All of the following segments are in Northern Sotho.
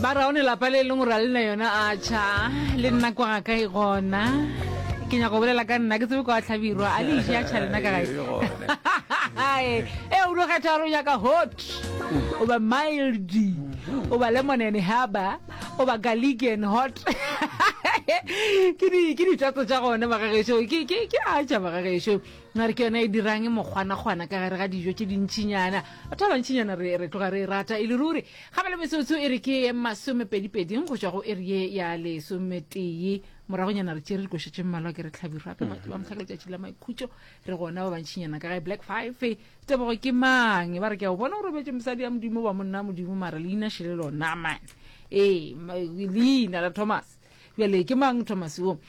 Ba ra o ne lapa le e leng gore a le na yona a tšha le nna kwa ga ka e gona. Ke nyaka go bolela ka nna ke tsebe kwa tlhabirwa a le iše a tšha lena ka gae. E o no kgetha gore o nyaka hot o ba mild o ba lemon and haba o ba garlic and hot. Ke di ke ditatso tša gona magagešo ke ke ke a tša magagešo. Nare ke yona e dirang mokgwanakgwana ka gare ga dijo tše dintšinyana. Batho ba bantšinyana re re tloga re e rata e le ruri. Gape le metsotso e re ke masomepedipeding go tšwa go iri ye ya lesometee. Moragonyana re tšere dikoša tše mmalwa ke re hlabirwa gape batho ba mohla ka letšatši la maikhutšo re gona ba bantšinyana ka gae. Black Five, Tebogo ke mang? Ba re ke a o bona o robetše mosadi ya Modimo ba monna Modimo mara leina šele lona man. Ee, leina la Thomas. Bjale ke mang Thomas wo?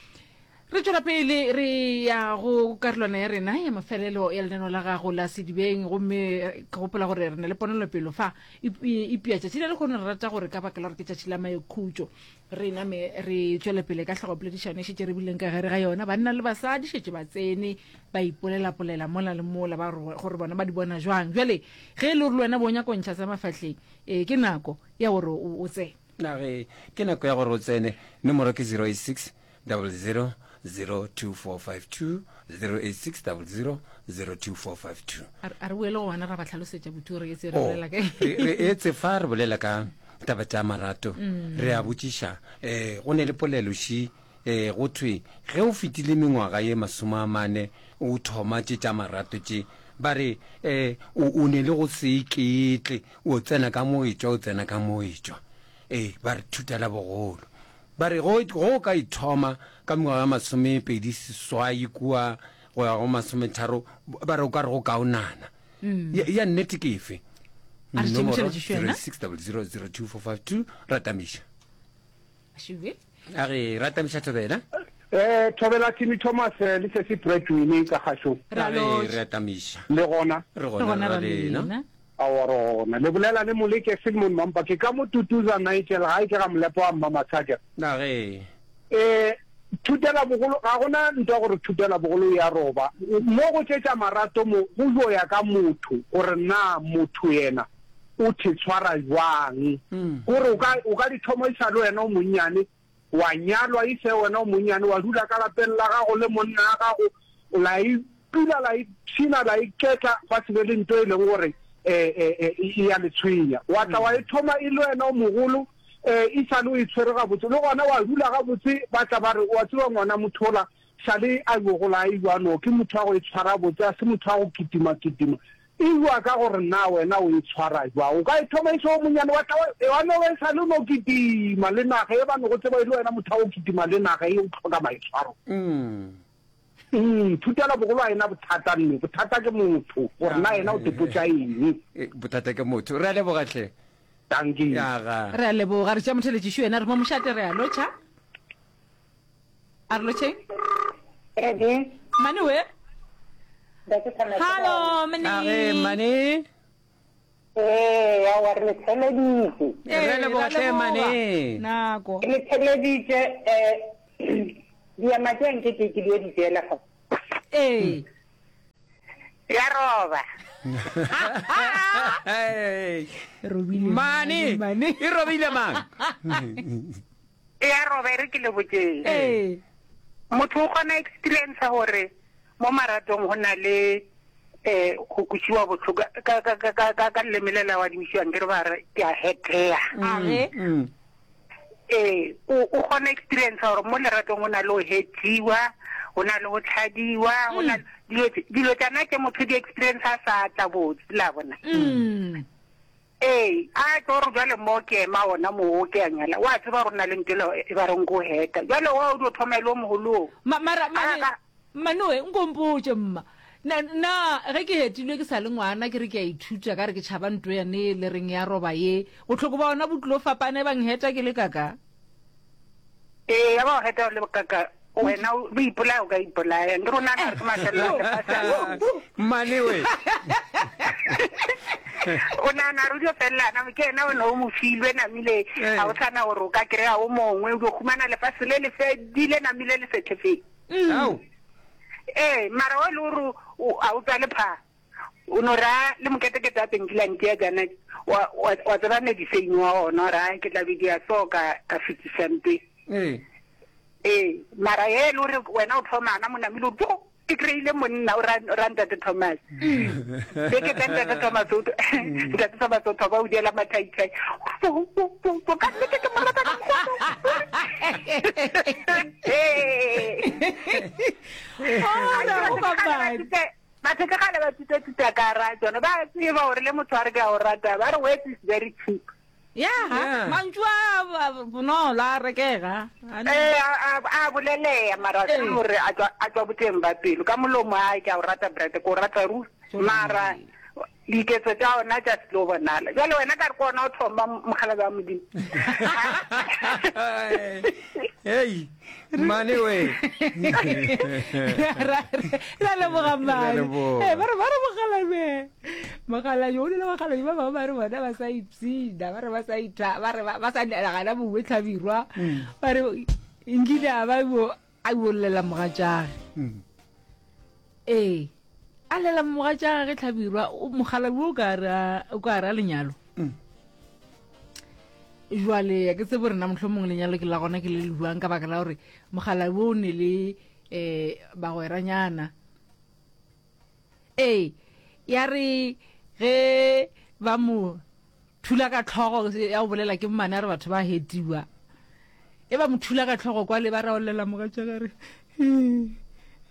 Re tšwela pele re ya go karolwana ya rena ya mafelelo ya lenaneo la gago la Sedibeng, gomme ke gopola gore re na le ponelopelo fa epia tšatši la lehono. Re rata gore ka baka la gore ke tšatši la maikhutšo, re name re tšwele pele ka hlogopoledišano e šetše re bileng ka gare ga yona. Banna le basadi šetše ba tsene ba ipolelapolela mola le mola ba gore bona ba di bona jwang. Bjale ge e le gore le wena bo nyaka go ntšha sa mafahleng, ee ke nako ya gore o tsene. Na ge ke nako ya gore o tsene, nomoro ke 086 00 02452 086 00 02452. A re boele go bona ra ba hlalosetša botho re etse re oh, bolela ka re etse fa re bolela ka taba tša marato mm. re a botšiša um go ne le polelo ši um go thwe ge o fetile mengwaga ye masome a mane o thoma tše tša marato tše ba re um o ne le go se iketle o tsena ka mo e tšwa o tsena ka mo e tšwa ee ba re thutela bogolo Ba re go, go o ka ithoma ka mengwaga ya masomepedi seswai kua go ya go masometharo, ba re o ka re go kaonana. Ya, ya nnete ke efe? A re Nomoro tšemošeletše yona. 0600022452, ratamiša. Šube. A re ratamiša Thobela. Eh, Thobela Timmy Thomas eh, le sesi Bradwin ka kgašong. Re a A re lotšha. ratamiša. Le gona? Re Re gona gona ra ra lena. lena. Aowa re gona. Le bolela le Moleke Philemon Mampa. Ke ka mo Tutuza Nigel gae ke ga Molepo wa Mmamatsha ke. Na ge. E, thutela bogolo, ga gona ntwa gore thutela bogolo e a roba. Mo go tšetša marato mo go yo ya ka motho gore na motho yena o the tshwara jwang. Gore o ka, o ka di thoma e sa le wena o monnyane, wa nyalwa e se wena o monnyane, wa dula ka lapeng la gago le monna wa gago, la e dula la ipshina la iketla, gwa se be le nto e leng gore e ya le tshwenya. Wa tla wa e thoma e le wena o mogolo, e sa le o e tshwere gabotse, le gona wa dula gabotse, ba tla ba re, wa tseba ngwana motho ola sa le a yo gola a ewa no, ke motho wa go e tshwara botse, a se motho wa go kitima-kitima. E bua ka gore na wena o e tshwara jwang. O ka e thoma e se o monyane, wa tla wa no e sa le o no kitima le naga e ba no go tseba e le wena motho wa go kitima le naga e o tlhoka maitshwaro. Mm, thutela bogolo a ena bothata nne, bothata ke motho, gore na yena o tepotša eng. Bothata ke motho. Re a leboga hle. Dankie. Yaga. Re a leboga. Re tšea motheletšiši wena re mo mošate re a lotšha. A re lotšheng. Ready? Mane we. Ntate Thomas. Hallo, mane. A re mane. Ee, aowa re le theleditše. Re leboga hle mane. Nako. Re le theleditše eh diema tše nke ke ke dio di tšeela fa. Ee. Ya roba. Robile. Mane. Mane. E robile mang? E ya roba e re ke le botšeng. Ee. Motho o kgona experience gore mo maratong go na le eh go kwešiwa bohloko ka ka ka ka ka ka leleme le la wa dimišiwang ke re ba re ke a hetea. A ge. Mm. Ee, o o kgona experience gore mo leratong go na le go hetiwa, go na le go tlhadiwa, go na dilo tše- dilo tšana tše motho di experience a sa tla botse la bona. Mm. Ee, a tlo re bjale mo ke ema gona moo ke a nyala, wa tseba gore o na le ntho ela e ba reng ke go heta. Bjale wa o dio thoma e le o mogolo o. Ma, mara, A mane, ka. manoe, nko mpotše mma, na, na ge ke hetilwe ke sa le ngwana, ke re ke a ithuta, ka re ke tšhaba nto yane le reng ya roba ye, bohloko ba gona bo tlilo fapana e bang heta ke le kaka? Ee, ya ba o heta o le kaka, wena o ipolaya o ka ipolaya. Nkere o nagana gore ke mafelelo a lefase a. Mmane we. O nagana gore o dio felela na ke yena wena o mo filwe namile ga o sana gore o ka kry-a o mongwe o dio humana lefase le le fedile namile le sethefeng. Ao. Ee, mara o e le gore ga o tswale phaa. O no ra le moketekete a penkile a ntia jana, wa, wa, wa tseba mediseine wa ona, wa ra ke tla be dia so ka, ka fetiša ntwe. Ee. Ee, mara ge e le gore wena o thoma gana mo namile o re, Tjo, ke kry-ile monna, o ra, o ra Ntate Thomas. Beke tša Ntate Thomas o, Ntate Thomas o thoma o diela mathaithai. Po, po, po, po, ka nnete ke mo rata ka mokgwa o. Ee. Ora, o babadi. Batho ke kgale ba tuta-tuta ka ra tšona. Ba tseba gore le motho a re ke a o rata, ba re words is very cheap. Ya, Yeah. mantšu a a bonolo a rekega. A ne- Ee, a, a, a boleleya mara Ee. se gore a tšwa, a tšwa boteng ba pelo. Ka molomo a ke a o rata Brad, ke o rata ruri. Mara diketso tša ona tša se tlo bonala. Bjale wena ka re ke ona o thoma mokgalabje wa Modimo. Hei, mmane we. Ra ra leboga mmane. leboga. Eh, ba re ba re mokgalabje. Mokgalabje o dula bakgalabje ba bangwe ba re bona ba sa ipshina, ba re ba sa itha, ba re ba ba sa gana bongwe tlhabirwa. Ba re nkile a ba bo a bollela mogatšage. Ee, a llela mogatšage tlhabirwa, mokgalabje o ka re o ka re a lenyalo. Jwale ya ke tsebe gore na mohlomong lenyalo ke la gona ke le le buang ka baka la gore mokgalabje o ne le um bagweranyana. Ee, ya re ge ba mo thula ka tlhogo ya go bolela ke mmane a re batho ba hetiwa. E ba mo thula ka tlhogo kwa le ba raolela mogatšaka re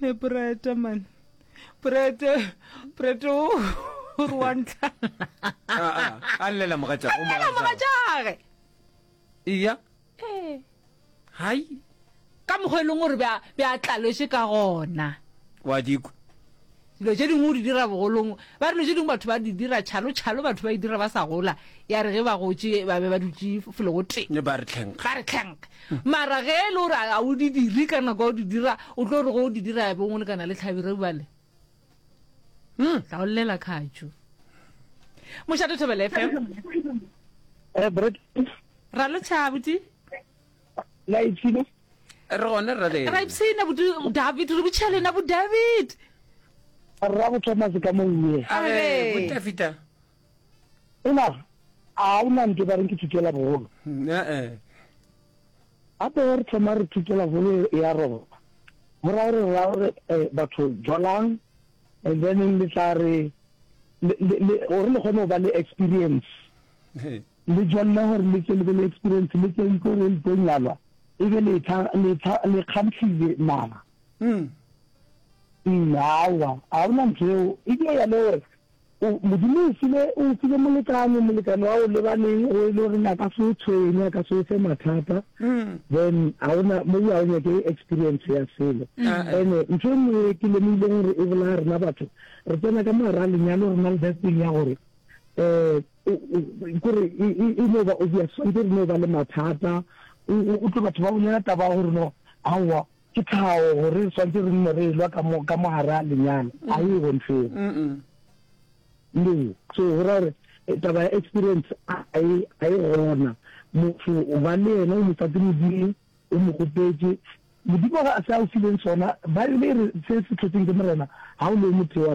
he breta man. Brete brete o re wa ntlhala. A a llela mogatšage. A llela mogatšage. Eya. Ee. Hai. Ka mokgwa e leng gore be be a tlalwetše ka gona. Wa di kwa. Dilo tše dingwe o di dira bogolong. Ba re dilo tše dingwe batho ba di dira tšhalo tšhalo batho ba e dira ba sa gola. Ya re ge ba gotše ba be ba dutše felo go tee. Ba re tlhenkge. Ba re tlhenkge. Mara ge e le gore a o di dire ka nako ya go di dira, o tlo re ge o di dira ya be o lekana le tlhabirwe bjale. Tla o llela khatšo. Mošate Thobela FM. Eh, Brett. Ra lo tšha abuti. La ipshina? Re gona rra le. Ra ipshina buti David re botšha lena bo David. Rra bo Thomas ka mo uwe. A re bo Tafita. Ena a o na ntwe ba reng ke thuto la bogolo. Eh eh. Gape re thoma re thuto la bogolo ya roba. Go ra gore ra gore eh, batho jolang and then le tla re gore le kgone go ba le experience. Le jolle gore le tle le be le experience, le tle itse gore le tlo nyalwa, e be le tha, le tha, le kgamhlile naga. Mm, aowa, ga o na ntho eo. E dio ya le gore o, Modimo o file, o file molekane, molekane wa o lebaneng, o e le goreng a ka se o tshwenye, a ka se o fe mathata, then ga o na, mo ga o nyake experience ya selo. Ene ntho e nngwe e ke lemogileng gore e bolaya rena batho, re tsena ka mogare ga lenyalo re na le that thing ya gore, um kore e no ba obvious swantse re no ba le mathata o tlo batho ba bolela taba ya gore no aowa ke tlhago gore re swantse re nne re elwa ka mo ka mogare a lenyalo a e go ntho eo no so go ra gore eh, taba ya experience a e a e gona motho o ba le yena o mo fa ke modimo o mo gopetše modimo ga se a o fileng sona baebele e re se se tlhotseng ke morena ga o le o motho wa.